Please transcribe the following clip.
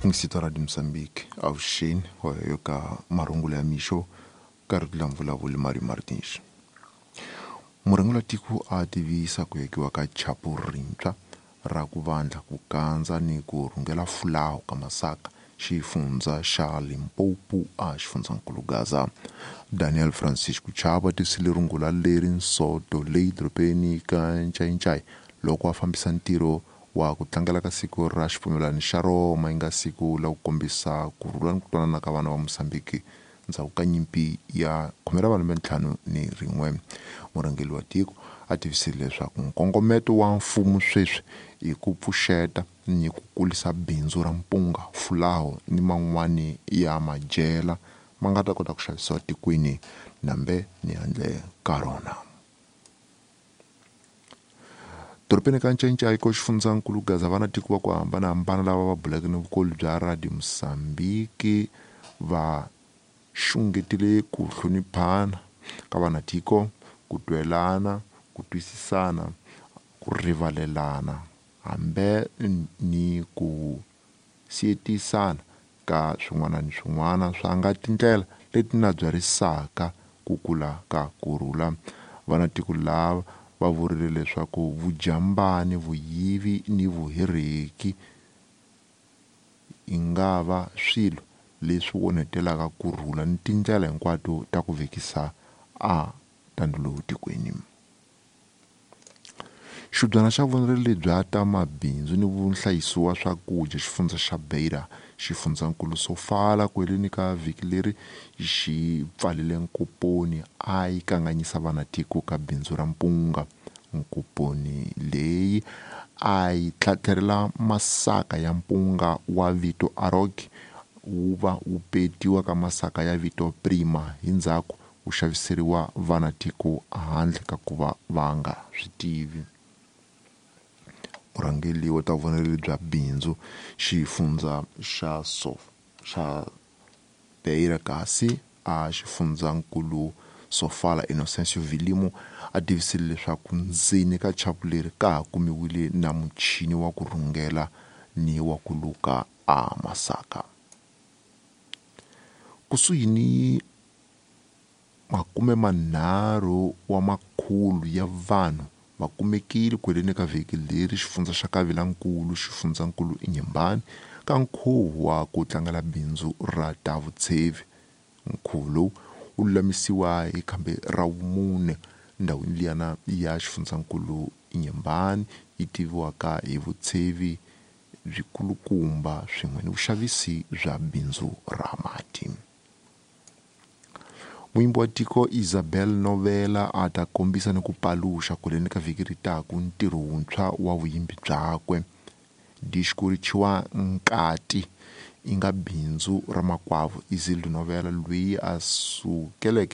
Ngisito Radio Mozambique avuxeni yo ka marungulo ya mixo ka ri la vulavuli Mario Martins. Murhangeri wa tiko a tivisa ku hekiwa ka chapu rintshwa ra ku vandla ku kandza ni ku rhungela fulawu ka masaka xifundza xa Limpopo a xifundzankulu Gaza. Daniel Francisco Chabo a tivisile rungula leri nsoto leyi dorobeni ka Ncayincai loko a fambisa ntirho wa ku tlangela ka siku ra xipfumelwano xa Roma yi nga siku la ku kombisa ku rhula ni ku twanana ka vana va Mozambique ndzhaku ka nyimpi ya 51. Murhangeri wa tiko a tivisile leswaku nkongometo wa mfumo sweswi i ku pfuxeta ni ku kulisa bindzu ra mpunga, fulawu ni man'wani ya madyela ma nga ta kota ku xavisiwa tikweni nambe ni handle ka rona. Dorobeni ka Ncayincai ko xifundzankulu Gaza va na tiko va ku hambanahambana lava va buleke ni vukulu bya Radio Mozambique va xungetile ku hloniphana ka vanatiko, ku twelana, ku twisisana, ku rivalelana hambe ni ku siyetisana ka swin'wana ni swin'wana swa nga tindlela leti na byarisaka ku kula ka kurhula. Vanatiko lava va vurile leswaku vujambani, vuyivi ni vuhereki yi nga va swilo leswi onhetelaka kurhula ni tindlela hinkwato ta ku vekisa a tandulu tikweni. Xibyana xa vundzeni bya ta mabindzu ni vuhlayisi wa swakudya xifundza xa Beira xifundzankulu Sofala ku heleni ka vhiki leri xi pfalile nkoponi a yi kanganyisa vanatiko ka bindzu ra mpunga. Nkoponi leyi a yi tlhatlherela masaka ya mpunga wa vito Arog wu va wu petiwa ka masaka ya vito Prima hi ndzhaku wu xaviseriwa vanatiko handle ka ku va va nga swi tivi. Murhangeri wa ta vundzeni bya bindzu xifundza xa xa Beira kasi a xifundzankulu Sofala Innocencio Vilimo a tivisile leswaku ndzeni ka chapu leri ka ha kumiwile na muchini wa ku rhungela ni wa ku luka a masaka. Kusuhi ni 30 wa makhulu ya vanhu va kumekile ku heleni ka vhiki leri xifundza xa Kavilankulu xifundzankulu Inhambane ka nkhuvo wa ku tlangela bindzu ra ta vutshevi. Nkhuvo lowu wu lulamisiwa hi khambi ra vumune ndhawini liyana ya xifundzankulu Inhambane yi tiviwaka hi vutshevi byikulukumba swin'we ni vuxavisi bya bindzu ra mati. Muyimbi wa tiko Isabel Novela a ta kombisa ni ku paluxa ku heleni ka vhiki ri taku ntirho wuntshwa wa vuyimbi byakwe. Disco ri thyiwa Nkati yi nga bindzu ra makwavo Isildu Novela loyi a sukeleke